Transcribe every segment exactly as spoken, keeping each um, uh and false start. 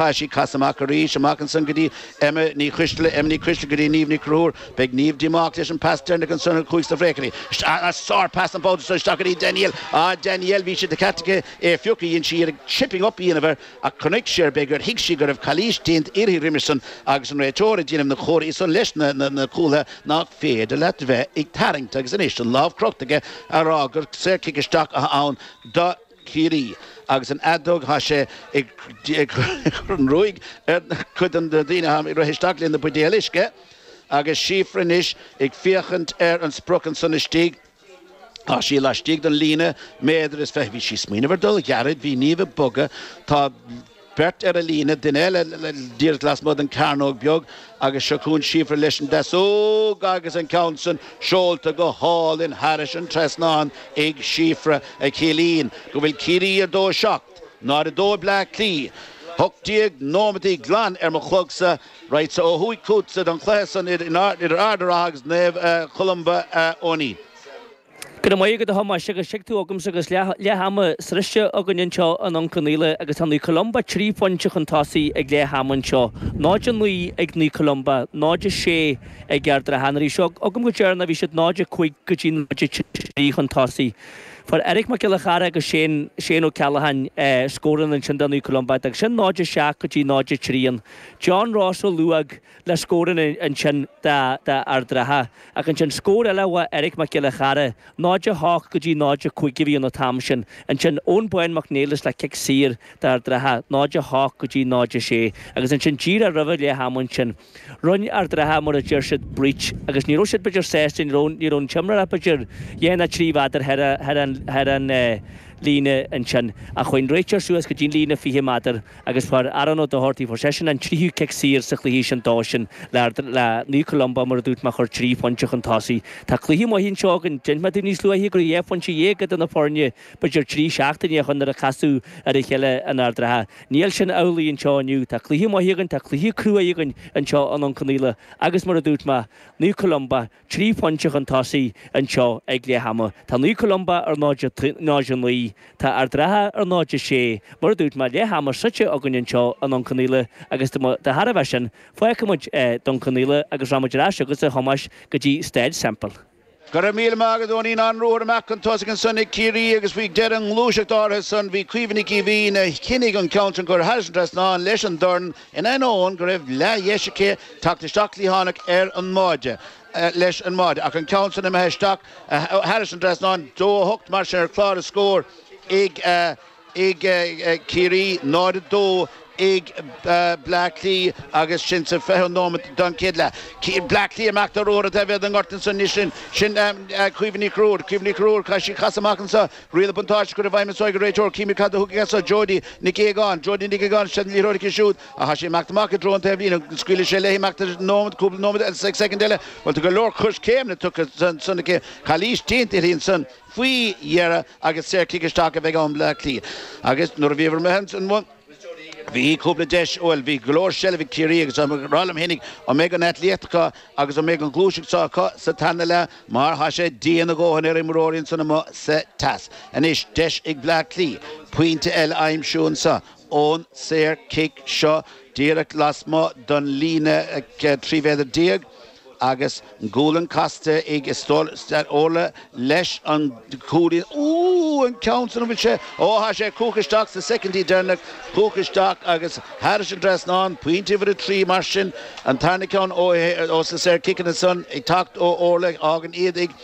Tá sí casadh amach arís, amach ansan go dtí Emma Ní Choisteala, Emma Ní Choisteala go dtí Niamh Ní Chonchúir. Beidh Niamh díomách leis an pas deireanach ansan a chuaigh sna bhfraochainí. Sár pas an babhta seo isteach go dtí Danielle. Ah Danielle, bhí sé de cheart aici é a phiocadh, dhein sí iarraidh chipping up a dhéanamh air ach chonaic sí ar b'fhéidir gur thuig sí go raibh calaois déanta uirthi roimis san agus an réiteoir ag déanamh na comharthaí san leis na na cúlaithe nach féidir leat bheith ag tarraingt agus anois an lámh crochta aige a rá gur saorchic isteach atá ann do Chiarraí agus an fheadóg tá sé ag cur an ruaig ar chuid de na daoine atá ag rith isteach le na buidéil uisce agus Síofra anois ag féachaint ar an sprioc ansan istigh. Tá sí laistigh den líne méadar is fiche. Bhí sí ag smaoineamh ar dul gairid, bhí Niamh ag bogadh, tá beirt ar an líne, duine eile díreach lasmuigh den cearnóg beag agus seo chugainn Síofra leis an deasóg agus an ceann san seolta go hálainn thairis an trasnán ag Síofra a chiallaíonn go bhfuil Ciarraí ar dó a seacht, náid a dó ag Bleá Cliath. Hocht déag nóimeataí glan ar mo chlogsa, raghadsa ó thuaidh chugatsa don chluiche san idir Ard an Rátha agus Naomh Columba, a Eoinín. Go raibh maith agat a Thomáis agus tuig tú agamsa agus leath ama sroichte againn anseo i nDún Conaola agus tá Naomh Columba trí phointe chun tosaigh ag leath ama anseo. náid a naoi ag Naomh Columba, náid a sé ag Ard an Rátha. Nuair a bhí seo agam go deireanach bhí siad náid a cúig go dtí náid a trí chun tosaigh. Fuair Eric Mac Giolla Chara agus Shane Shane Ó Ceallacháin scóranna ansin do Naomh Columba agus sin náid a seacht go dtí náid a trí an John Ross Ó Luaig le scóranna ansin d'Ard an Rátha. Ach ansin scór eile ó Eric Mac Giolla Chara, náid a hocht go dtí náid a cúig a bhí an t-am sin. Ansin Eoin Bán Mac Niallais le cic saor d'Ard an Rátha, náid a hocht go dtí náid a sé. Agus ansin díreach roimh leath ama ansin. Rinne Ard an Rátha mar a deir siad breach agus ní raibh siad b'fhéidir sásta, ní raibh ní raibh an t-imreoir b'fhéidir dhá nó trí mhéadar thar an thar an líne ansin. Ach chuaigh an réiteoir suas go dtí an líne fiche méadar agus fuair Aaron Ó Dochartaigh, fuair seisean an tríú cic saor sa chluiche sin dó sin le le Naomh Columba mar a dúirt mé a chur trí phointe chun tosaigh. Tá cluiche maith anseo againn, d'inis mé daoibh níos luaithe go raibh dhá phointe dhéag idir na foirne, b'fhéidir trí seachtaine ó shin nuair a casadh ar a chéile in Ard an Rátha. Níl sin amhlaidh anseo inniu. Tá cluiche maith againn, tá cluiche cruaidh againn anseo i nDún Conaola agus mar a dúirt mé, Naomh Columba trí phointe chun tosaigh anseo ag leath ama. Tá Naomh Columba ar náid a naoi, tá Ard an Rátha ar náid a sé. Mar a dúirt mé, leath ama sroichte againn anseo i nDún Conaola agus de thairbhe sin, fágfaidh muid Dún Conaola agus rachaidh muid ar ais chugatsa a Thomáis go dtí Staid Semple. Go raibh míle maith agat, Eoinín. An ruathar amach chun tosaigh ansan ag Ciarraí agus faoi dheireadh an ghluaiseacht áirithe san bhí Caoimhe Nic Aoibhín a chinntigh an ceann sin curtha thairis an trasnán leis an dorn in ainneoin go raibh leathdheis aici teacht isteach cliathánach ar an mbáide leis an mbáide ach an ceann san imithe isteach thairis an trasnán. Dó a hocht mar sin ar chlár na scór ag ag Ciarraí, náid a dó ag Bleá Cliath agus sin sa fichiú nóiméad den chéad leath. Bleá Cliath amach de ruathar taobh thiar den ngort ansan anois sin sin Caoimhe Ní Chonchúir. Caoimhe Ní Chonchúir, caithfidh sí casadh amach anso. Riail an buntáiste curtha i bhfeidhm anso ag an réiteoir. Címid cad a thug aige anso Jodie Nic Aogáin. Jodie Nic Aogáin, sin an liathróid aici siúd ach tá sí ag imeacht amach i dtreo an taobh líne. Scaoilfidh sé léi imeacht nóiméad, cúpla nóiméad agus soicind eile. Bhuel tá go leor coiscéimeanna tugtha ansan aici. Calaois déanta uirthi ansan faoi dheireadh agus saorchic isteach a bheidh ann Bleá Cliath. Agus nuair a bhíomar imithe ansan bhí cúpla deis, bhuel bhí go leor seilbh ag Ciarraí agus ag rá liom fhéinig an mbeidh an aclaíocht acu agus an mbeidh an ghluaiseacht seo acu sa tarna leath mar tá sé dian a dhóthain ar imreoirí ansan amuigh sa teas. Anois deis ag Bleá Cliath pointe eile a aimsiú anso ón saorchic seo díreach lasmuigh den líne trí mhéadar déag. Agus an gualainn casta ag Orla leis an gcúilín. Ooh, an ceann san, an bhfuil sé? Ó, tá sé chuaigh isteach sa soicindí deireanach, chuaigh isteach agus thairis an dtrasnán, pointe uimhir a trí mar sin, an tarna ceann ó ó sna saorchiceanna san ag teacht ó Orla, fhágann iad ag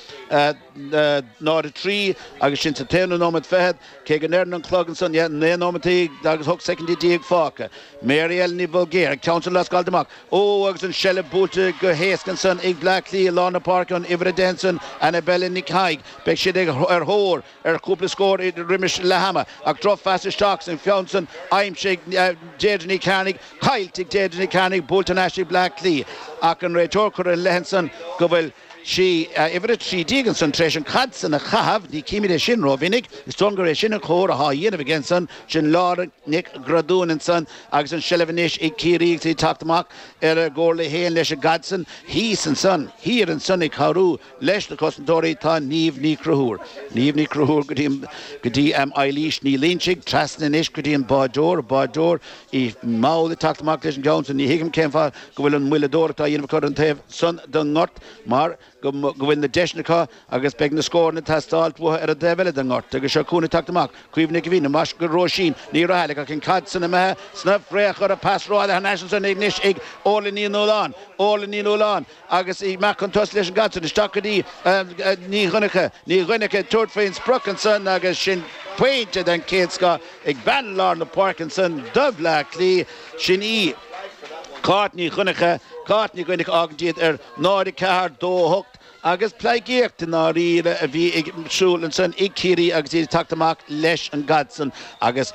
náid a trí agus sin sa t-aonú nóiméad fichead, cé go ndeireann an clog ansan, yeah, naoi nóiméad agus ocht soicindí déag fágtha. Mary Ellen Ní Bhulgair, an ceann san lascáilte amach. Ó, agus an seilbh buailte go héasca ansan ag Bleá Cliath i lár na páirce, an uimhir a deich ansan, Annabella Nic Thaidhg. Beidh siad ag ar thóir ar chúpla scór roimis leath ama. Ach drochphas isteach san cheann san, aimsithe ag Deirdre Ní Chearnaigh, caillte ag Deirdre Ní Chearnaigh, buailte thar n-ais ag Bleá Cliath. Ach an réiteoir curtha ina leith ansan go bhfuil sí uimhir a trí déag ansan tar éis an chaid san a chaitheamh, ní chímid é sin rómhinic, is dóigh gur é sin an chóir atá á dhéanamh aige ansan, sin Laura Nic Gradúin ansan agus an seilbh anois ag Ciarraí agus iad ag teacht amach ar a gcomhairle féin leis an gcaid san thíos ansan, thiar ansan ag cabhrú leis na cosantóirí tá Niamh Ní Chonchúir. Niamh Ní Chonchúir go dtí go dtí Eilís Ní Loinsigh, trasna anois go dtí an báideoir, báideoir í mall ag teacht amach leis an gceann san, ní thuigim cén fáth go bhfuil an mhoilleadóireacht á dhéanamh acu ar an taobh san den ngort mar go bhfuil na deiseanna acu agus beidh na scóranna ag teastáilt uathu ar an dtaobh eile den ngort. Agus seo chugainn ag teacht amach, Caoimhe Nic Aoidh, amach go Róisín Ní Raghallaigh ach an chaid san imithe sna friochair, a pas rófhada thar n-ais ansan anois ag Orla Ní Nualláin, Orla Ní Nualláin agus í amach chun tosaigh leis an gcaid san isteach go dtí Ní Dhonncha, Ní Dhonncha ag tabhairt faoin sprioc ansan agus sin pointe den chéad scoth ag bean lár na páirce ansan do Bhleá Cliath, sin í. Cáit Ní Dhonncha, Cáit Ní Dhonncha fhágann iad ar náid a ceathair, dó a hocht agus pleidhcíocht i ndáiríre a bhí ag siúl ansan ag Ciarraí agus iad ag teacht amach leis an gcaid san agus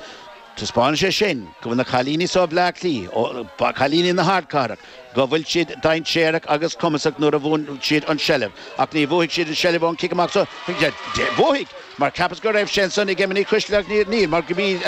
taispeánann sé sin go bhfuil na cailíní so Bhleá Cliath, cailíní na hardchathrach, go bhfuil siad dainséarach agus cumasach nuair a bhuann siad an tseilbh. Ach ní bhuafaidh siad an tseilbh ón cic amach so. Bhuafaidh! Mar cheapas go raibh sé ansan ag Emma Ní Choisdealbha ach níl, níl, mar go b'í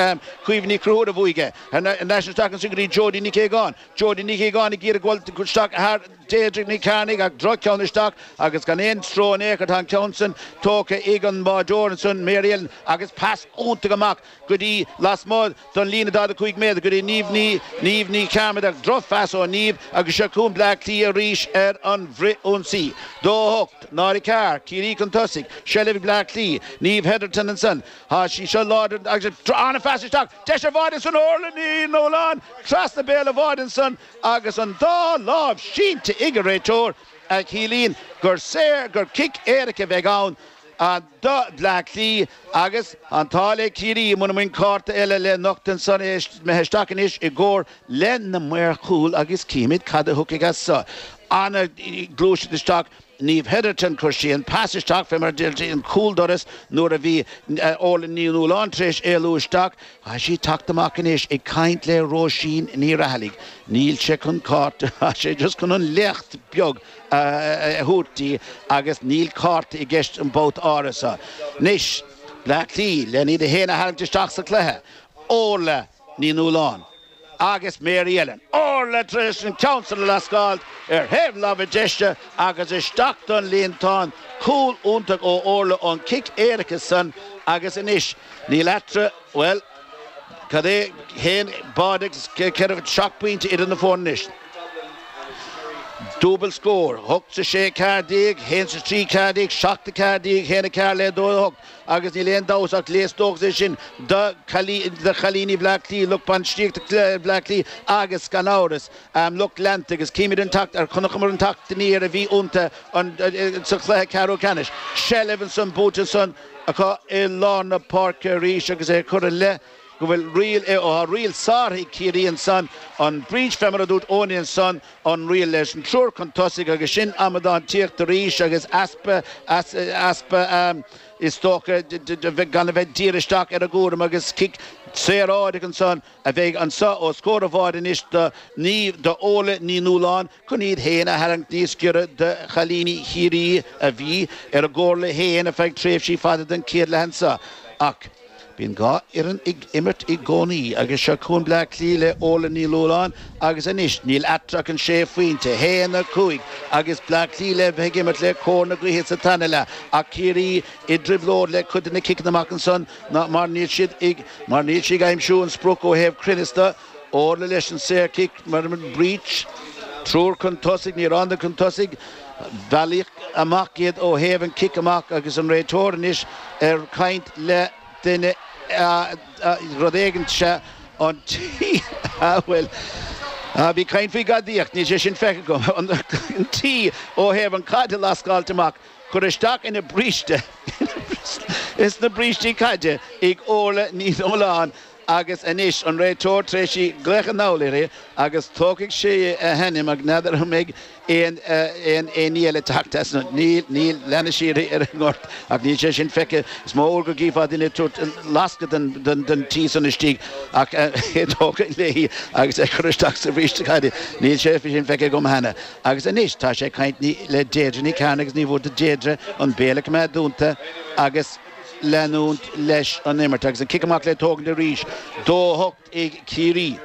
Caoimhe Ní Chonchúir a bhuaigh é. Thar n-ais isteach ansin go dtí Jodie Nic Aogáin. Jodie Nic Aogáin ag iarraidh dul isteach thar Deirdre Nic Cearnaigh ach droch-cheann isteach agus gan aon stró in aon chor tá an ceann san tógtha ag an mbáideoir ansan, Mary Ellen, agus pas iontach amach go dtí lasmuigh don líne daichead a cúig méadar go dtí Niamh Ní Niamh Ní Chearmada ach drochphas ó Niamh agus seo chugainn Bleá Cliath arís ar an bhfrith-ionsaí. Dó a hocht, náid a ceathair, Ciarraí chun tosaigh, seilbh ag Bleá Cliath, Niamh Hetherton ansan, tá sí seo láidir agus an-phas isteach, deis ar bháide ansan, Orla Ní Nualláin trasna béal an bháide ansan agus an dá lámh sínte ag an réiteoir a chiallaíonn gur saor, gur cic éirice a bheidh ann. Do Bhleá Cliath agus an t-ádh le Ciarraí muna mbíonn cárta eile le nochtadh ansan imithe isteach anois i gcomhar le na maoir chúil agus címid cad a thiocfaidh as so. Ana-ghluaiseacht isteach Niamh Hetherton, chuir sí an pas isteach fé mar a deir an cúldoras nuair a bhí Orla Ní Nualláin tar éis éalú isteach. Tá sí ag teacht amach anois ag caint le Róisín Ní Raghallaigh. Níl sé chun cárta, tá sé just chun an léacht beag a thabhairt di agus níl cárta i gceist an babhta áirithe seo. Anois, Bleá Cliath len iad féin a tharraingt isteach sa chluiche, Orla Ní Nualláin agus Mary Ellen. Orla tar éis an ceann san a lascáilt ar thaobh láimhe deise agus isteach don líontán. Cúl iontach ó Orla ón cic éirice san agus anois níl eatarthu, bhuel, cad é, haon báide agus ceithre, seacht bpointe idir na foirne anois. Dúbailt scór, hocht 's a sé ceathair déag, haon 's a trí ceathair déag, seacht a ceathair déag, haon a ceathair le dó a hocht agus níl aon dabht ach léas dóchais é sin do chailíní Bhleá Cliath, lucht bainistíochta Bhleá Cliath agus gan amhras lucht leanta agus címid an teacht ar chonaiceamar an teacht aniar a bhí iontu sa chluiche ceathrú ceannais. Seilbh ansan buaite ansan acu i lár na páirce arís agus é curtha i leith go bhfuil riail, ó tá riail sáraithe ag Ciarraí ansan, an breach fé mar a dúirt Eoiní ansan, an riail leis an triúr chun tosaigh agus sin amadán tíocht arís agus easpa, easpa is dócha gan a bheith dírithe isteach ar a gcúram agus cic saoráideach ansan a bheidh anso os comhair an bháide anois do Niamh, do Orla Ní Nualláin chun iad féin a tharraingt níos giorra do chailíní Chiarraí a bhí ar a gcomhairle féin ar feadh tréimhsí fada den chéad leath anso ach Bíonn dhá fhoireann ag imirt i gcónaí agus seo chugainn Bleá Cliath le Orla Ní Nualláin agus anois níl eatarthu ach an sé phointe, haon a cúig, agus Bleá Cliath le bheith ag imirt le cóir na gaoithe sa tarna leath ach Ciarraí i dtrioblóid le cuid de na ciceanna amach ansan mar níl siad ag mar níl siad ag aimsiú an sprioc ó thaobh cruinneas de. Orla leis an saorchic mar an breach. Triúr chun tosaigh, níor fhan chun tosaigh. Bailíodh amach iad ó thaobh an cic amach agus an réiteoir anois ar caint le duine rud éigin sea an tí a bhfuil bhí caint faoi ghadaíocht, níl sé sin feicthe agam, an tí ó thaobh an chaid a lascáilt amach, cur isteach ina bríste, ins na brístí caide ag Orla Ní Nualláin Agus anois an réiteoir tar éis glaoch anall uirthi agus tógfaidh sé a hainm ach n'fheadar an mbeidh aon aon aon ní eile teacht as níl níl leanfaidh sí uirthi ar an ngort ach níl sé sin feicthe. Is mó uair go gcífeá duine ag tabhairt lascadh den den den tí san istigh ach é tógtha léi agus é cur isteach sa bhríste caide. Níl sé sin feicthe agam cheana. Agus anois tá sé ag caint le Deirdre Ní Chearnaigh agus ní mhór do Deirdre an béal a choimeád dúnta agus leanúint leis an imirt agus an cic amach le tógaint arís. Dó a hocht ag Ciarraí,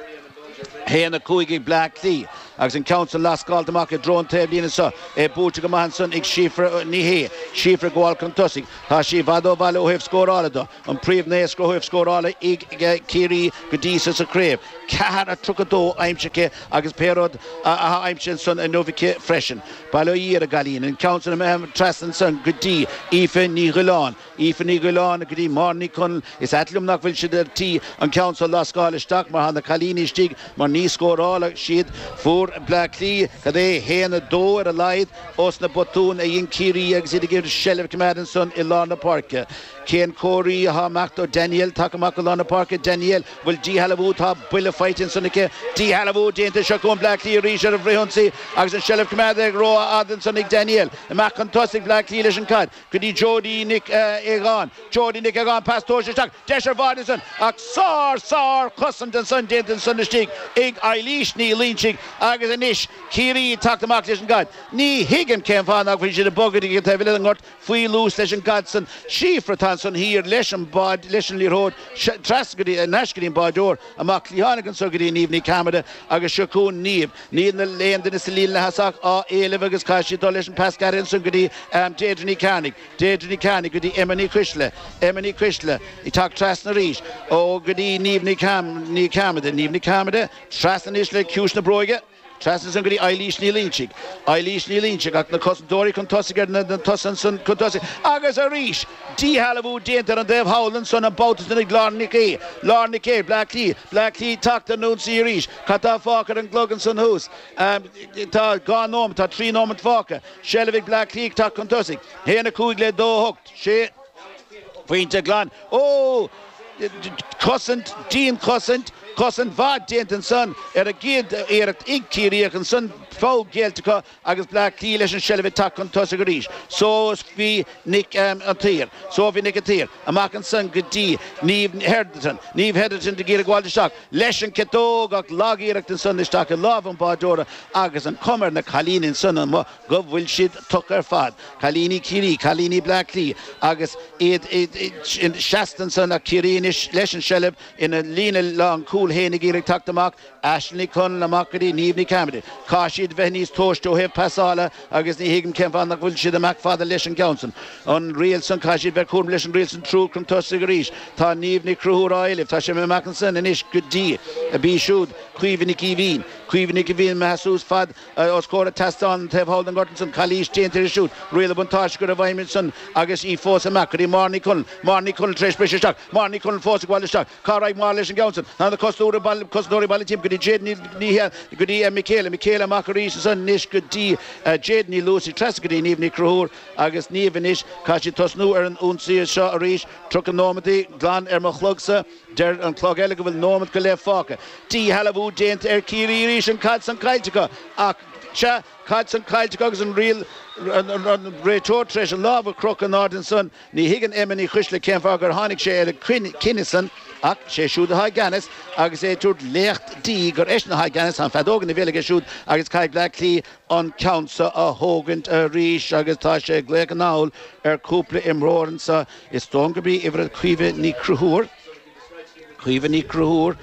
haon a cúig ag Bleá Cliath agus an ceann san lascáilte amach i dtreo an taobhlíne seo. É buailte go maith ansan ag Síofra Ní Shé. Síofra ag gabháil chun tosaigh. Tá sí i bhfad ó bhaile ó thaobh scórála de. An príomhnaoscaire ó thaobh scórála ag Ciarraí go dtí so sa chraobh. Ceathair a tríocha dó aimsithe aici agus pé rud atá aimsithe ansan inniu aici freisin. Bail ó Dhia ar an gcailín. An ceann san imithe trasna ansan go dtí Aoife Ní Ghiolláin. Aoife Ní Ghiolláin go dtí Máire Ní Chonaill. Is ait liom nach bhfuil siad ar tí an ceann so a lascáil isteach mar tá na cailíní istigh mar ní scórálfaidh siad. Fuair Bleá Cliath cad é haon a dó ar a laghad ós na botúin a dhein Ciarraí agus iad ag iarraidh seilbh a choimeád ansan i lár na páirce. Cén comharthaí atá amach do Danielle tagtha amach go lár na páirce? Danielle, bhfuil díshealbhú, tá buille faighte ansan aici. Díshealbhú déanta, seo chugainn Bleá Cliath arís ar an bhfrithionsaí agus an seilbh coimeádta ag rófhada ansan ag Danielle. Amach chun tosaigh Bleá Cliath leis an caid go dtí Jodie Nic Aogáin. Jodie Nic Aogáin, pas tomhaiste isteach, deis ar bháide ansan ach sár, sár chosaint ansan déanta ansan istigh ag Eilís Ní Loinsigh agus anois Ciarraí ag teacht amach leis an gcaid. Ní thuigim cén fáth nach bhfuil siad ag bogadh ag an taobh eile den ngort faoi luas leis an gcaid san. Síofra atá ansan thiar leis an bád, leis an liathróid, trasna go dtí, in ais go dtí an báideoir, amach cliathánach anso go dtí Niamh Ní Cearmada agus seo chugainn Niamh. Níl na aon duine sa líne leath-thosach á éileamh agus caithfidh sí dul leis an pas gairid ansan go dtí Deirdre Ní Chearnaigh. Deirdre Ní Chearnaigh go dtí Emma Ní Choisle. Emma Ní Choisle ag teacht trasna arís ó go dtí Niamh Ní Cearmada. Niamh Ní Cearmada trasna anois le ciumhais na bróige. Trasna ansan go dtí Eilís Ní Loinsigh. Eilís Ní Loinsigh ach na cosantóirí chun tosaigh ar na tosaithe ansan chun tosaigh. Agus arís, díshealbhú déanta ar an dtaobh thall ansan an babhta san ag Lauren Nic Aoidh. Lauren Nic Aoidh, Bleá Cliath. Bleá Cliath teacht ar an ionsaí arís. Cad tá fágtha ar an gclog ansan thuas? Tá dhá nóimeat, tá trí nóimeat fágtha. Seilbh ag Bleá Cliath ag teacht chun tosaigh. Haon a cúig le dó a hocht. Sé phointe glan. Ó! Cosaint, dianchosaint, cosaint mhaith déanta ansan ar an gcéad iarracht ag Ciarraí ach ansan foul géillte acu agus Bleá Cliath leis an seilbh ag teacht chun tosaigh arís. Sophie Nic an tSaoir, Sophie Nic an tSaoir, amach ansan go dtí Niamh Hetherton, Niamh Hetherton ag iarraidh gabháil isteach leis an ciotóg ach lag-iarracht ansan isteach i lámha an bháideora agus an chuma ar na cailíní ansan amuigh go bhfuil siad tugtha ar fad, cailíní Chiarraí, cailíní Bleá Cliath agus iad seasta ansan ach Ciarraí anois leis an seilbh ina líne lán cúil féin ag iarraidh teacht amach, Aisling Ní Chonaill amach go dtí Niamh Ní Cearmada. Caithfidh siad bheith níos tomhaiste ó thaobh pasála agus ní thuigim cén fáth nach bhfuil siad amach fada leis an gceann san. An riail san, caithfidh siad bheith cúramach leis an riail san triúr chun tosaigh arís. Tá Niamh Ní Chonchúir á éileamh. Tá sé amach ansan anois go dtí, b'í siúd Caoimhe Nic Aoibhín. Caoimhe Nic Aoibhín imithe suas fad os comhair an tseastáin an taobh thall den ngort ansan. Calaois déanta uirthi siúd. Riail an bhuntáiste curtha i bhfeidhm ansan agus í fós amach go dtí Máire Ní Chonaill. Máire Ní Chonaill tar éis briseadh isteach. Máire Ní Chonaill fós ag gabháil isteach. Cá raghaidh Máire leis an gceann san? Tá na cosantóirí baile, cosantóirí baile timpeall go dtí Jade Ní, Ní hea, go dtí Michaela. Michaela amach arís ansan anois go dtí Jade Ní Luasaigh. Trasna go dtí Niamh Ní Chonchúir agus Niamh anois. Caithfidh siad tosnú ar an ionsaí seo arís. Tríocha nóimeataí glan ar mo chlogsa. Deir an clog eile go bhfuil nóimeat go leith fágtha. Díshealbhú déanta ar Chiarraí arís, an caid san caillte acu. Ach, sea, caid san caillte acu agus an riail, an réiteoir tar éis a lámh a chrochadh in airde ansan. Ní thuigeann Emma Ní Choisle cén fáth gur tháinig sé ar an gcinneadh san ach sé siúd atá i gceannas agus é ag tabhairt léacht di gur eisean atá i gceannas. Tá an feadóg ina bhéal aige siúd agus caithfidh Bleá Cliath an ceann seo a thógaint arís agus tá sé ag glaoch anall ar chúpla imreoir anso. Is dóigh liom gurb í uimhir Caoimhe Ní Chonchúir. Caoimhe Ní Chonchúir,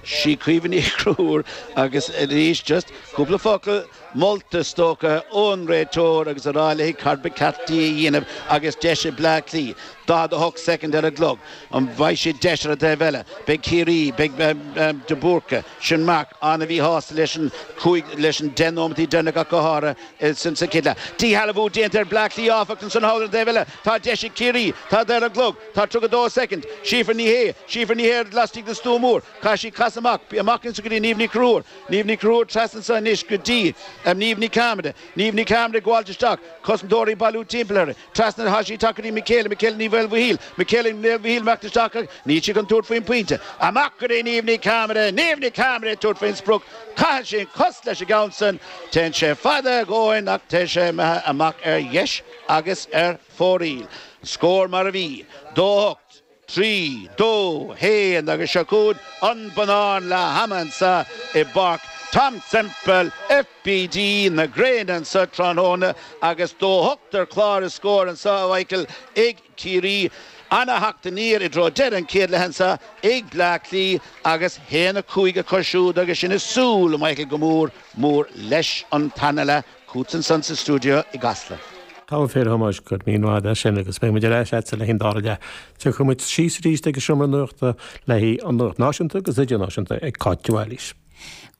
sí Caoimhe Ní Chonchúir agus arís just cúpla focal molta is dócha ón réiteoir agus a rá léi cad ba cheart di a dhéanamh agus deis ag Bleá Cliath. daichead a hocht soicind ar an gclog. An bhfaighidh siad deis ar an dtaobh eile? Beidh Ciarraí, beidh de Búrca, sin Mark, an-mhíshásta leis an cúig, leis an deich nóimeataí deireanach ach go háirithe sa chéad leath. Díshealbhú déanta ar Bleá Cliath áfach ansan thall ar an dtaobh eile. Tá deis ag Ciarraí. Tá ar an gclog. Tá tríocha dó soicind. Síofra Ní Shé, Síofra Ní Shé laistigh den stua mór. Caithfidh sí casadh. Pas amach, amach anso go dtí Niamh Ní Chonchúir. Niamh Ní Chonchúir trasna anso anois go dtí Niamh Ní Cearmada. Niamh Ní Cearmada ag gabháilt isteach. Cosantóirí ag bailiú timpeall uirthi. Trasna atá sí tagtha go dtí Michaela, Michaela Ní Mhaolmhichíl. Michaela Ní Mhaolmhichíl imeacht isteach ach níl sí chun tabhairt faoin bpointe. Amach go dtí Niamh Ní Cearmada. Niamh Ní Cearmada ag tabhairt faoin sprioc. Caitheann sí an cos leis an gceann san. Téann sé fada a dhóthain ach tá sé imithe amach ar dheis agus ar fóraoil. Scór mar a bhí, dó a hocht, trí, dó, haon agus seo chugainn an bonnán leath ama anso i bPáirc Tom Semple, FBD na gréine anso tráthnóna agus dó a hocht ar chlár na scór anso a Mhichael ag Ciarraí. Ana-theacht aniar i dtreo deireadh an chéad leath anso ag Bleá Cliath agus haon a cúig acu siúd agus sinn ag súil, a Mhichael, go mór mór leis an tarna leath. Chugatsa ansan sa stiúideo i gCasla. Tá a fíor a Thomáis, go raibh míle maith agat as sin agus beidh muid ar ais agatsa le haghaidh an dara leath. Tiocfaidh muid síos arís ag an seomra nuachta le haghaidh an nuacht náisiúnta agus idirnáisiúnta ag Cáit de Bhailís.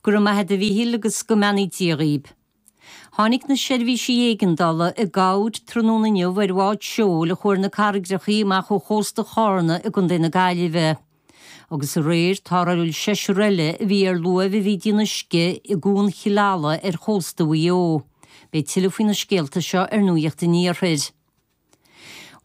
Go raibh maith agat a Mhíchíl agus go mbeannaí Dia dhaoib. Tháinig na seirbhísí éigeandála i gcabhair tráthnóna inniu ar bhád seoil a chuaigh ar na carraigreachaí amach ó chósta Chárna i gContae na Gaillimhe. Agus aréir tarrtháladh seisear eile a bhí ar luaimh a bhí ag déanamh uisce i gCuan Chill Ala ar chósta Mhaigh Eo. Beidh tuilleadh faoi na scéalta seo ar Nuacht an Iarthair.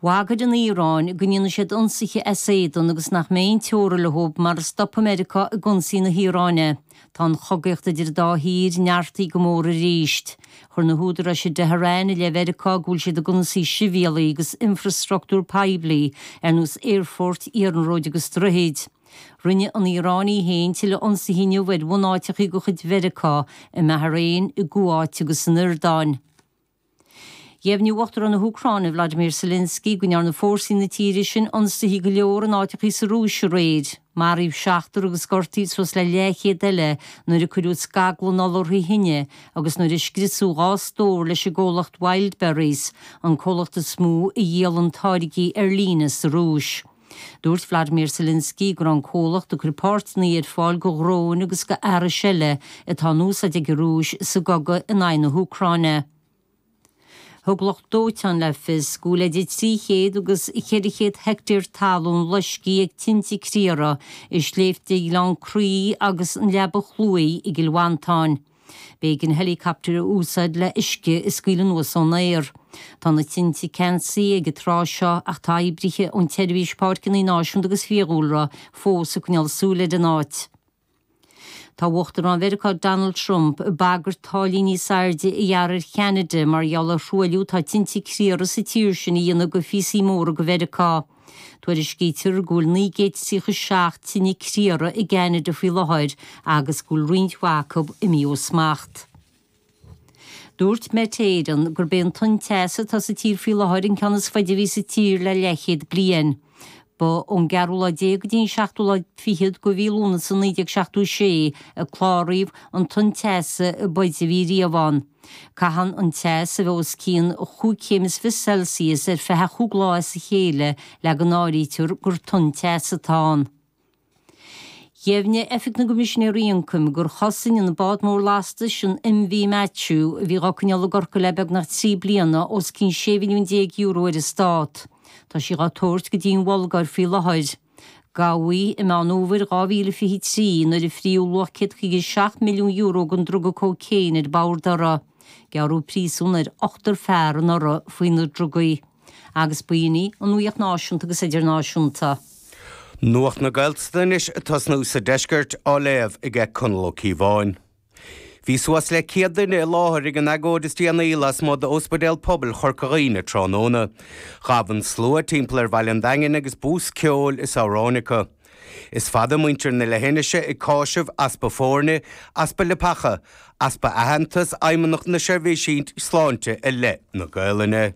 Bhagair an Iaráin go ndéanfaidh siad ionsaithe as éadan agus nach mbeidh aon teora leo mara stopfaidh Meiriceá ag ionsaí na hIaráine. Tá an chogaíocht idir an dá thír neartaithe go mór arís. Chuir na húdaráis i dTehran i leith Mheiriceá go bhfuil siad ag ionsaí sibhialaigh agus infreastruchtúr poiblí ar nós aerfoirt, iarnróid agus droichid. Rinne an Iaráin í féin tuilleadh ionsaithe inniu ar bhunáiteacha de chuid Mheiriceá i mBahrain, i gCuáit agus san Iordáin. Dheimhnigh Uachtarán na hÚcráine Vladimir Zelensky go ndearna fórsaí na tíre sin ionsaithe go leor in áiteacha sa Rúis aréir. Maraíodh seachtar agus gortaíodh suas le leathchéad eile nuair a cuireadh scaglann oladharthaí thine agus nuair a scriosadh dhá stór leis an gcomhlacht Wildberries, an comhlacht is mó a dhíolann táirgí ar líne sa Rúis. Dúirt Vladimir Zelensky go raibh an comhlacht ag cur páirteanna ar fáil do dhróin agus do fhearais eile atá in úsáid ag an Rúis sa gcogadh in aghaidh na hÚcráine. Thug lucht dóiteáin le fios go bhfuil idir trí chéad agus ceithre chéad heicteár talún loiscthe ag tinte criathair i sléibhte Ghleann Craí agus an Leaba Chluaidh i gCill Mhantáin. B'éigean heileacaptar a úsáid le uisce a scaoileadh anuas ón aer. Tá na tinte ceansaithe ag an tráth seo ach tá oibrithe ón tSeirbhís Páirceanna Náisiúnta agus Fiadhúlra fós ag coinneáil súil ar an áit. Tá Uachtarán Mheiriceá Donald Trump ag bagairt táillí níos airde a ghearradh ar Cheanada mar gheall ar thruailliú atá tinte criathair sa tír sin a dhéanamh go phíosaí móra de Mheiriceá. Tuairiscítear go bhfuil naoi gcéad tríocha seacht tine criathair i gCeanada faoi láthair agus go bhfuil roinnt mhaith acu imithe ó smacht. Dúirt Met Éireann gurb é an tonn teasa atá sa tír faoi láthair an ceann is faide a bhí sa tír le leathchéad bliain. Ba ón gceathrú lá déag go dtí an seachtú lá fichead de mhí Lúnasa naoi déag seachtó sé a cláraíodh an tonn teasa ab fhaide a bhí riamh ann. Caitheann an teas a bheith os cionn chúig chéim is fiche Celsius ar feadh chúig lá as a chéile le go n-áirítear gur tonn teasa atá ann. Dheimhnigh Oifig na gCoimisinéirí Ioncaim gur chosain an bád mór lastais an MV Matthew, a bhí á coinneáil i gCorcaigh le beagnach trí bliana, os cionn sé mhilliún déag euro ar an stát. Tá sí á tabhairt go dtí an Bhulgáir faoi láthair. Gabhadh í i Meán Fhómhair dhá mhíle fiche trí nuair a fríodh luach céad caoga seacht milliún euro den druga cócaon ar bord uirthi. Gearradh príosún ar ochtar fear anuraidh faoi na drugaí. Agus b'in í an nuacht náisiúnta agus idirnáisiúnta. Nuacht na Gaeltachta anois ag tosnú sa deisceart á léamh aige Conall Ó Cíobháin. Bhí suas le céad duine i láthair ag an agóid is déanaí lasmuigh d'Ospidéal Pobail Chorca Dhuibhne tráthnóna. Ghabh an slua timpeall ar bhaile an Daingin agus bús ceoil is amhráin acu. Is fada muintir na leithinise ag cáiseamh easpa foirne, easpa leapacha, easpa aitheantas Fheidhmeannacht na Seirbhísí Sláinte i leith na Gaelainne.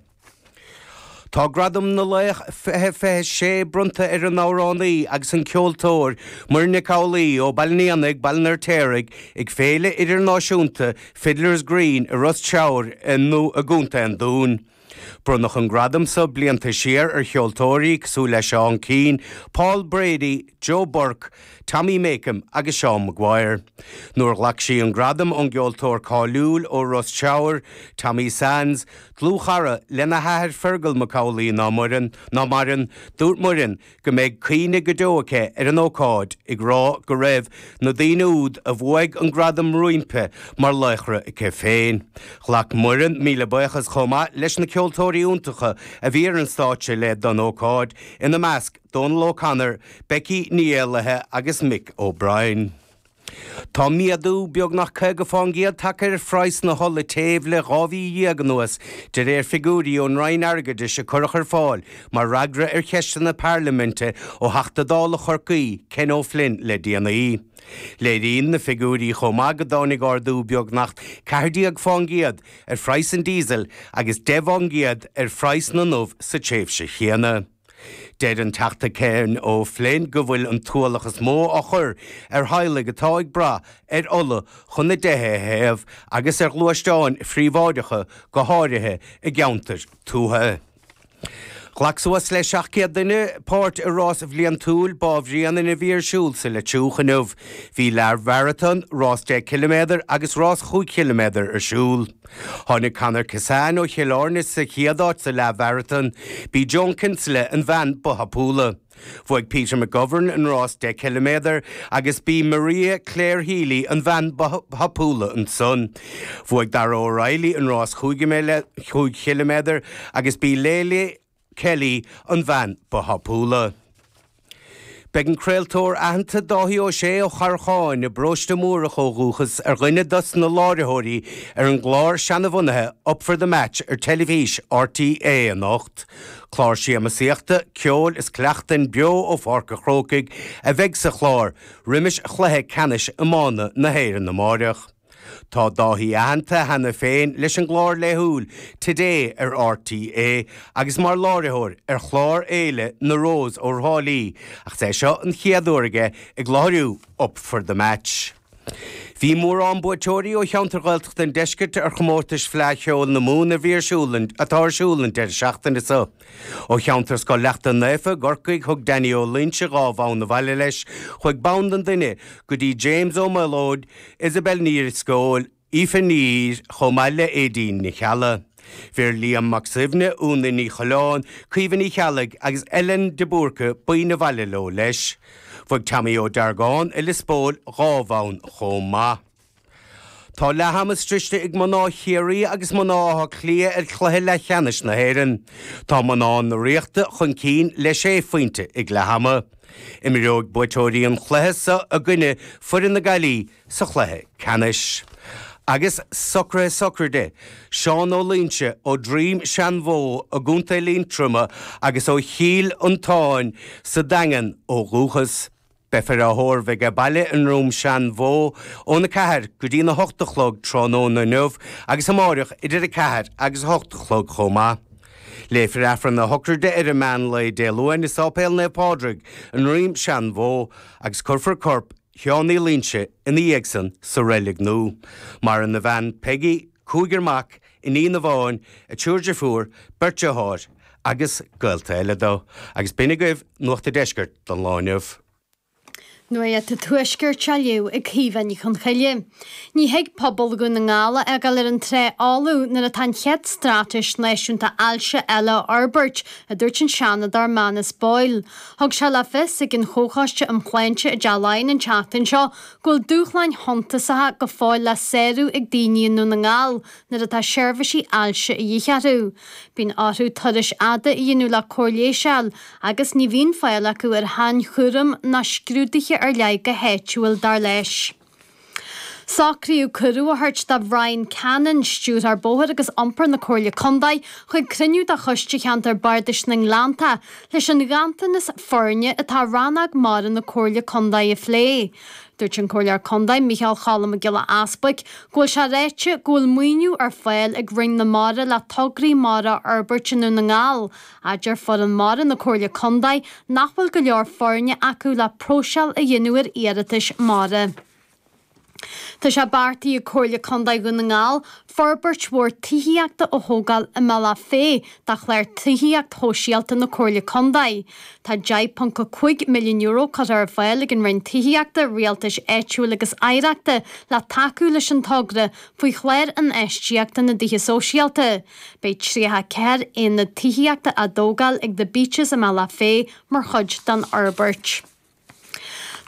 Tá Gradam na Laoch fiche fiche sé bronnta ar an amhránaí agus an ceoltóir Muireann Nic Amhlaoibh ó Baile an Éanaigh, Baile an Fheirtéaraigh, ag Féile Idirnáisiúnta Fiddler's Green i Ros Teamhair i gContae an Dúin. Bronnadh an gradam seo blianta siar ar cheoltóirí cosúil le Seán Keane, Paul Brady, Joe Burke, Tommy Makem agus Seán Maguire. Nuair a ghlac sí an gradam ón gceoltóir cáiliúil ó Ros Teamhair, Tommy Sands, dlúthchara lena hathair Fergal Mac Amhlaigh ná maireann, ná maireann, dúirt Muireann go mbeidh cuimhne go deo aici ar an ócáid, ag rá go raibh na daoine úd a bhuaigh an gradam roimpi mar laochra aici féin. Ghlac Muireann míle buíochas chomh maith leis na ceoltóirí iontacha a bhí ar an stáitse léi don ócáid, ina measc Dónal O'Connor, Becky Ní Éallaithe agus Mick O'Brien. Tá méadú beagnach caoga fán gcéad tagtha ar phraghas na hola téimh le dhá mhí dhéag anuas, de réir figiúirí ón Roinn Airgeadais a cuireadh ar fáil mar fhreagra ar cheisteanna parlaiminte ó Theachta Dála Chorcaí, Ken O'Flynn le déanaí. Léiríonn na figiúirí chomh maith go dtáinig ardú beagnach ceathair déag fán gcéad ar phraghas an díosail agus deich bhfán gcéad ar phraghas na n-ubh sa tréimhse chéanna. Deir an Teachta Ken O'Flynn go bhfuil an t-ualach is mó á chur ar theaghlaigh atá ag brath ar ola chun a dtithe a théamh agus ar ghluaisteáin phríobháideacha, go háirithe i gceantair tuaithe. Ghlac suas le seacht gcéad duine páirt i rás bhliantúil Bá Bhréanainn a bhí ar siúl sa Leitriúch inniu. Bhí leathmharatón, rás deich ciliméadar agus rás chúig chiliméadar ar siúl. Tháinig Conor Kissane ó Chill Airne sa chéad áit sa leathmharatón. B'í Joan Kinsella an bhean ba thapúla. Bhuaigh Peter McGovern an rás deich ciliméadar agus b'í Maria Claire Healy an bhean ba thapúla ansan. Bhuaigh Dara O'Reilly an rás chúig chiliméadar agus b'í Leila Kelly an bhean ba thapúla. Beidh an craoltóir aitheanta Dáithí Ó Sé ó Charrcháin i bParóiste Múrach ó dhúchas ar dhuine dos na láithreoirí ar an gclár seanabhunaithe Up for the Match ar teilifís RTÉ anocht. Clár siamsaíochta, ceoil is cleachtain beo ó Pháirc an Chrócaigh a bheidh sa chlár roimis chluiche ceannais iomána na hÉireann amáireach. Tá Dáithí aitheanta cheana féin leis an gclár laethúil Today ar RTÉ agus mar láithreoir ar chlár Fhéile na Rós ó Thrá Lí, ach is é seo an chéad uair aige ag láithriú Up for the Match. Bhí mórán buaiteoirí ó cheantar Ghaeltachta an Deiscirt ar chomórtais Fleadh Cheoil na Mumhan a bhí ar siúl atá ar siúl an deireadh seachtaine seo. Ó cheantar Scoil Leachta Naofa i gCorcaigh thug Danny Ó Loinsigh dhá bhonn abhaile leis, chuaigh bonn don duine go dtí James Ó Maolóid, Isabel Ní Drisceoil, Aoife Ní Ír chomh maith le Aedín Ní Cheallaigh. Bheir Liam Mac Suibhne, Úna Ní Choileáin, Caoimhe Ní Cheallaigh agus Ellen de Búrca boinn abhaile leo leis. Bhuaigh Tommy Ó Deargáin i Lios Póil dhá bhonn chomh maith. Tá leath ama sroichte ag mná Chiarraí agus mná Átha Cliath ar chluiche leathcheannais na hÉireann. Tá mná na Ríochta chun cinn le sé phointe ag leath ama. Imreoidh buaiteoirí an chluiche seo i gcoinne foireann na Gaillimhe sa chluiche ceannais. Agus socruithe sochraide, Seán Ó Loingsigh ó Dhroim Seanbhó i gContae Liatroma agus ó Chill Fhionntáin sa Daingean ó dhúchas. Beifear á thórramh aige baile i nDroim Seanbhó ón a ceathair go dtí'n a hocht a chlog tráthnóna inniu agus amáireach idir a ceathair agus a hocht a chlog chomh maith. Léifear Aifreann na sochraide ar an meán lae Dé Luain i Sáipéal Naomh Pádraig i nDroim Seanbhó agus cuirfear corp Sheáin Uí Loingsigh ina dhiaidh san sa reilig nua. Maireann a bhean Peggy, cúigear mac, iníon amháin, a triúr deirfiúr, beirt deartháir agus gaolta eile dó. Agus b'in agaibh Nuacht an Deiscirt don lá inniu. Nuacht an Tuaiscirt á léamh ag Caoimhe Ní Chonchoille. Ní thig pobal Dhún na nGall a fhágáil ar an trá fholamh nuair atá an chéad straitéis náisiúnta ailse eile á fhorbairt, a dúirt an Seanadóir Manus Boyle. Thug sé le fios ag an Chomhchoiste um Shláinte i dTeach Laighean an tseachtain seo go bhfuil dúshláin shuntasacha go fóill le sárú ag daoine i nDún na nGall nuair atá seirbhísí ailse a dhíth orthu. Bíonn orthu turais fhada a dhéanamh le cóir leighis a fháil agus ní bhíonn fáil acu ar shainchúram ná scrúduithe ar leith go háitiúil, dar leis. Socraíodh cuireadh a thabhairt do Bhrian Cannon, Stiúrthóir Bóthair agus Iompair na Comhairle Contae, chuig cruinniú de Choiste Cheantar Bardais na nGleannta leis an ghanntanas foirne atá i rannóg mara na Comhairle Contae a phlé. Dúirt an Comhairleoir Contae Micheál Choilm Mac Giolla Easbuic go bhfuil sé ráite go bhfuil maoiniú ar fáil ag Roinn na Mara le tograí mara a fhorbairt i nDún na nGall, ach deir foireann mara na Comhairle Contae nach bhfuil go leor foirne acu le próiseáil a dhéanamh ar iarratais mara. Tá sé beartaithe ag Comhairle Contae Dhún na nGall forbairt mhór tithíochta a thógáil i mBealach Féich de chlár tithíocht shóisialta na Comhairle Contae. Tá deich ponc a cúig milliún euro curtha ar fáil ag an Roinn Tithíochta, Rialtais Áitiúil agus Oidhreachta le tacú leis an togra faoi chlár infheistíochta na dTithe Sóisialta. Beidh tríocha a ceathair aonad tithíochta á dtógáil ag The Beeches i mBealach Féich mar chuid den fhorbairt.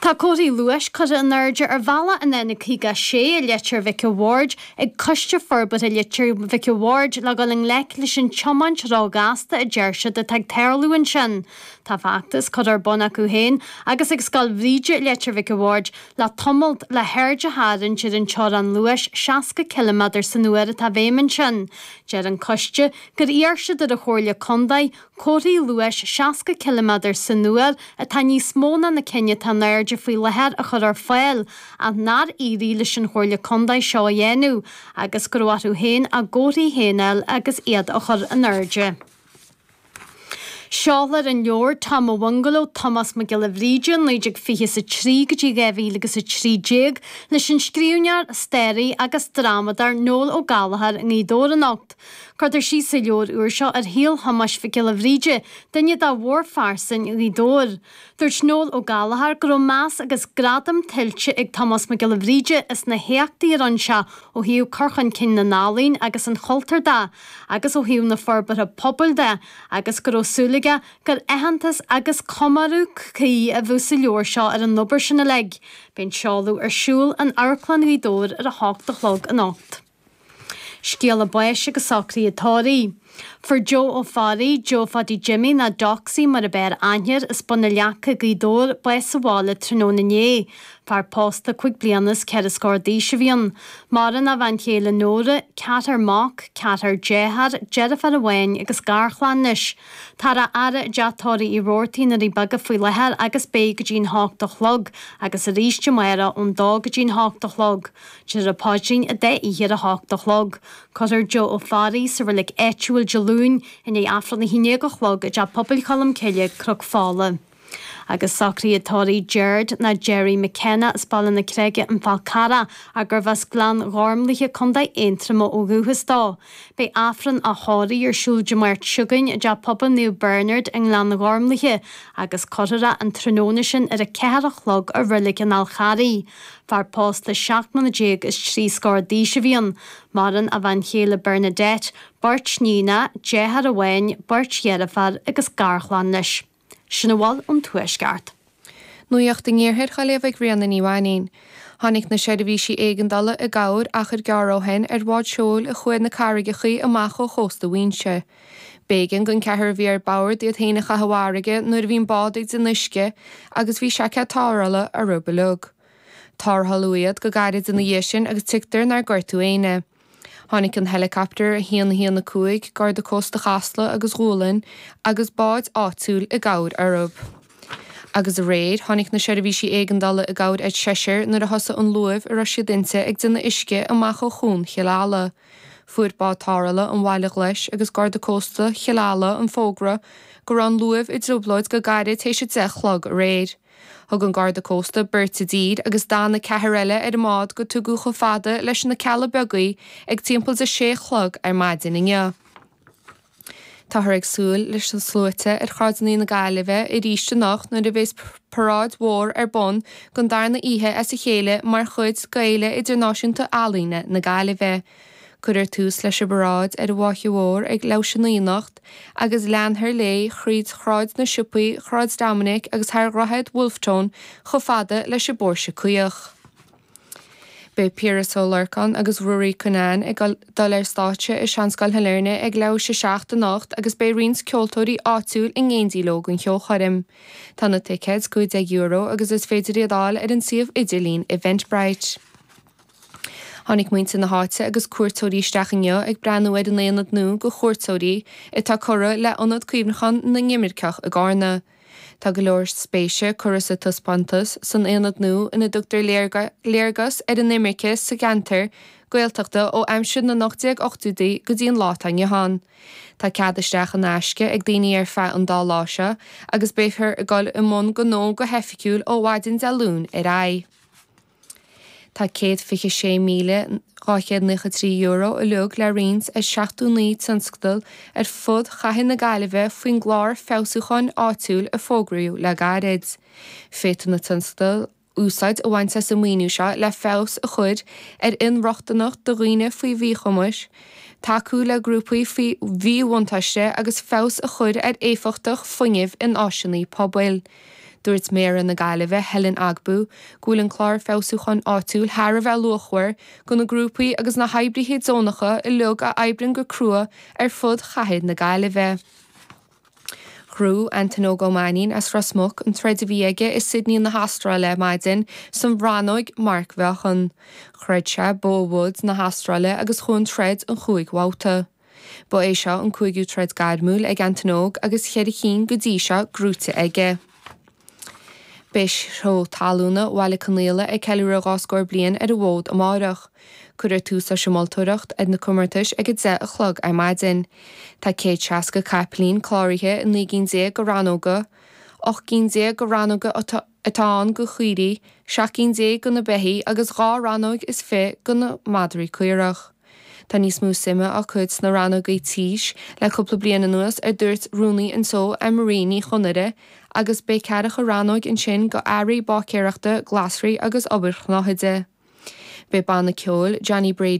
Tá comharthaí luais curtha in airde ar bhealach an N caoga a sé i Leitir Mhic a' Bhaird ag Coiste Forbartha Leitir Mhic a' Bhaird le dhul i ngleic leis an tiomáint róghasta a deir siad atá ag tarlú ansin. Tá feachtas curtha ar bun acu féin agus ag Scoil Bhríde i Leitir Mhic a' Bhaird le tamalt le haird a tharraingt ar an teorainn luais seasca ciliméadar san uair atá i bhfeidhm ansin. Deir an coiste gur iarr siad ar an Chomhairle Contae comharthaí luais seasca ciliméadar san uair atá níos mó ná na cinn atá in airde faoi láthair a chur ar fáil ach nár éirigh leis an Chomhairle Contae seo a dhéanamh agus go raibh orthu féin a gcomharthaí féin a fháil agus iad a chur in airde. Seolfar an leabhar Tom a' Bhungaló, Tomás Mac Giolla Bhríde, naoi déag fiche is a trí go dtí dhá mhíle agus a trí déag, leis an scríbhneoir, staraí agus drámadóir Noel Ó Gallchóir i nGaoth Dobhair anocht. Cuirtear síos sa leabhar úr seo ar shaol Thomáis Mhic Giolla Bhríde, duine de mhórphearsain Ghaoth Dobhair. Dúirt Noel Ó Gallchóir go raibh meas agus gradam tuillte ag Tomás Mac Giolla Bhríde as na héachtaí a rinne sé ó thaobh cur chun cinn na n-ealaíon agus an chultúir de agus ó thaobh na forbartha pobail de agus go raibh súil aige gur aitheantas agus comóradh cuí a bheadh sa leabhar seo ar an obair sin uilig. Beidh an seoladh ar siúl in Amharclann Ghaoth Dobhair ar a hocht a chlog anocht. Scéala báis agus socruithe tórraimh. Fuair Joe Ó Fearraigh, Joe Pháidí Jimmy nó Doxy mar ab fhearr aithne air, as Bun na Leaca, Gaoth Dobhair, bás sa bhaile tráthnóna inné. Fear pósta cúig bliana is ceithre scór d'aois a bhí ann. Maireann a bhean chéile Nóra, ceathrar mac, ceathrar dearthár, deirfiúr amháin agus garchlann leis. Táthar á fhaire i dteach tórraimh Uí Robhartaigh i nDoirí Beaga faoi láthair agus beidh go dtí an hocht a chlog agus arís amárach ón dó go dtí an hocht a chlog. Déanfar an paidrín an dá oíche ar a hocht a chlog. Cuirfear Joe Ó Fearraigh sa reilig áitiúil Dé Luain i ndiaidh Aifreann a haon déag a chlog i dTeach Pobail Cholm Cille, Cnoc Fola. Agus socruithe tórraimh Gerard nó Gerry McKenna as Baile na Creige, An Fál Carrach, ach gurbh as Gleann Ghormlaithe, Contae Aontroma ó dhúchas dó. Beidh Aifreann a thórraimh ar siúl Dé Máirt seo chugainn i dTeach Pobail Naomh Bernard i nGleann Ghormlaithe agus cuirfear é an tráthnóna sin ar a ceathair a chlog i Reilig an Fháil Charraigh. Fear pósta seacht mbliana déag is trí scór d'aois a bhí ann. Maireann a bhean chéile Bernadette, beirt níonacha, deartháir amháin, beirt dheirfiúr agus garchlann leis. Sin a bhfuil ón Tuaisceart. Nuacht an Iarthair á léamh ag Ríona Ní Mhainín. Tháinig na seirbhísí éigeandála i gcabhair achar gearr ó shin ar bhád seoil a chuaigh na carraigeacha amach ó chósta Mhuinseo. B'éigean don cheathrar a bhí ar bord iad féin a chaitheamh i bhfarraige nuair a bhí an bád ag déanamh uisce agus bhí seaicéad tarrthála orthu uilig. Tarrtháladh iad go gairid ina dhiaidh sin agus tuigtear nár gortaíodh éinne. Tháinig an heileacaptar a haon a haon a cúig, Garda Cósta Chasla agus Ghualainn agus báid áitiúil i gcabhair orthu. Agus aréir, tháinig na seirbhísí éigeandála i gcabhair ar sheisear nuair a thosaigh an luaimh a raibh siad inti ag déanamh uisce amach ó Chuan Chill Ala. Fuair bád tarrthála an Bhaile Ghlais agus Garda Cósta Chill Ala an fógra go raibh an luaimh i dtrioblóid go gairid théis a deich a chlog aréir. Thug an Garda Cósta beirt i dtír agus d'fhan an ceathrar eile ar an mbád go tugadh chomh fada leis na Cealla Beaga í ag timpeall de sé a chlog ar maidin inniu. Táthar ag súil leis na sluaite ar shráideanna na Gaillimhe arís anocht nuair a bheas paráid mhór ar bun don darna oíche as a chéile mar chuid d'Fhéile Idirnáisiúnta Ealaíne na Gaillimhe. Cuirfear tús leis an bparáid ar an bhFaiche Mhór ag leathuair tar éis a naoi anocht agus leanfar léi thríd Shráid na Siopaí, Shráid Dominic agus thar Dhroichead Wolfe Tone chomh fada leis an bPóirse Caoch. Beidh Piaras Ó Lorcáin agus Ruairí Cunnane ag dul ar stáitse i Seanscoil Shailearna ag leathuair tar éis a seacht anocht agus beidh roinnt ceoltóirí áitiúil in éindí leo don cheolchoirm. Tá na ticéid cúig déag euro agus is féidir iad a fháil ar an suíomh idirlín Eventbrite. Tháinig muintir na háite agus cuairteoirí isteach inniu ag breathnú ar an aonad nua do chuairteoirí atá curtha le Ionad Cuimhneacháin na nImirceach i gCarna. Tá go leor spéise curtha sa taispeántas san aonad nua ina dtugtar léargas ar an imirce sa gceantar Gaeltachta ó aimsir na n-ocht déag ochtóidí go dtí an lá atá inniu ann. Tá cead isteach in aisce ag daoine ar feadh an dá lá seo agus beifear ag dul i mbun gnó go hoifigiúil ó mhaidin Dé Luain ar aghaidh. Tá céad fiche sé míle dhá chéad naocha trí euro uilig le roinnt ar seachtó naoi tionscadal ar fud chathair na Gaillimhe faoin gclár feabhsúcháin áitiúil a fógraíodh le gairid. Féadfaidh na tionscadail úsáid a bhaint as an maoiniú seo le feabhas a chur ar inrochtaineacht do dhaoine faoi mhíchumais, tacú le grúpaí faoi mhíbhuntáiste agus feabhas a chur ar éifeachtacht fuinnimh in áiseanna pobail. Dúirt Méara na Gaillimhe, Helen Ogbu, go bhfuil an clár feabhsúcháin áitiúil thar a bheith luachmhar do na grúpaí agus na hoibrithe deonacha uilig a oibríonn go crua ar fud chathair na Gaillimhe. Ghnóthaigh Antain Óg Ó Mainnín as Ros Muc an troid a bhí aige i Sydney na hAstráile ar maidin san rannóg marcmheáchan. Throid sé Bo Woods na hAstráile agus chuaigh an troid an chúig bhabhta. Ba é seo an cúigiú troid gairmiúil ag Antain Óg agus cheithre cinn go dtí seo gnóthaithe aige. Beidh seó talúna Bhaile Conaola ag ceiliúradh dhá scór bliain ar an bhfód amárach. Cuirfear tús leis an moltóireacht ar na comórtais ag a deich a chlog ar maidin. Tá céad seasca capaillín cláraithe i naoi gcinn déag de rannóga, ocht gcinn déag de rannóga atá ann do chaoirigh, seacht gcinn déag do na beithígh agus dhá rannóg is fiche do na madraí caorach. Tá níos mó suime á cur sna rannógaí tís le cúpla bliain anuas, a dúirt rúnaí an tseó Anne-Marie Ní Chonaire, agus beidh ceathracha rannóg ansin do earraí báicéireachta, glasraí agus obair shnáthaide. Beidh banna ceoil Johnny Brady